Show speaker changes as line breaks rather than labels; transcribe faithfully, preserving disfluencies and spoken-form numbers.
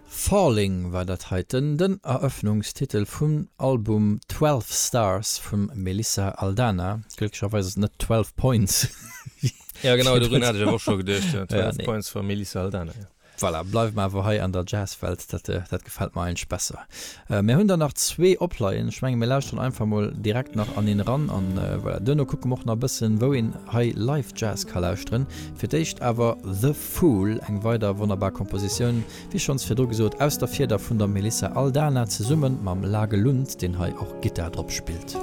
Falling war dat heiten, den Eröffnungstitel vum Album Twelve Stars vum Melissa Aldana. Glécklecherweis ass et net Twelve Points.
Ja genau, dorun hat ech awer och scho geduecht, ja, Twelve Points vum Melissa Aldana, ja.
Voilà, bleiwe mer awer hei an der Jazzwelt, dat, dat gefält mer eigentlech besser. Mir hunn der nach zwee opleien. Ech menge mir lauschteren einfach mol direkt nach an een eran an voilà, duerno kucke mer och nach e bëssen, wou een hei live Jazz ka lauschteren. Fir d'éischt awer The Fool, eng weider wonnerbar Kompositioun, wéi schonns virdru gesot, aus der Fieder vun der Melissa Aldana zesumme mam Lage Lund, deen hei och Gittar drop spillt.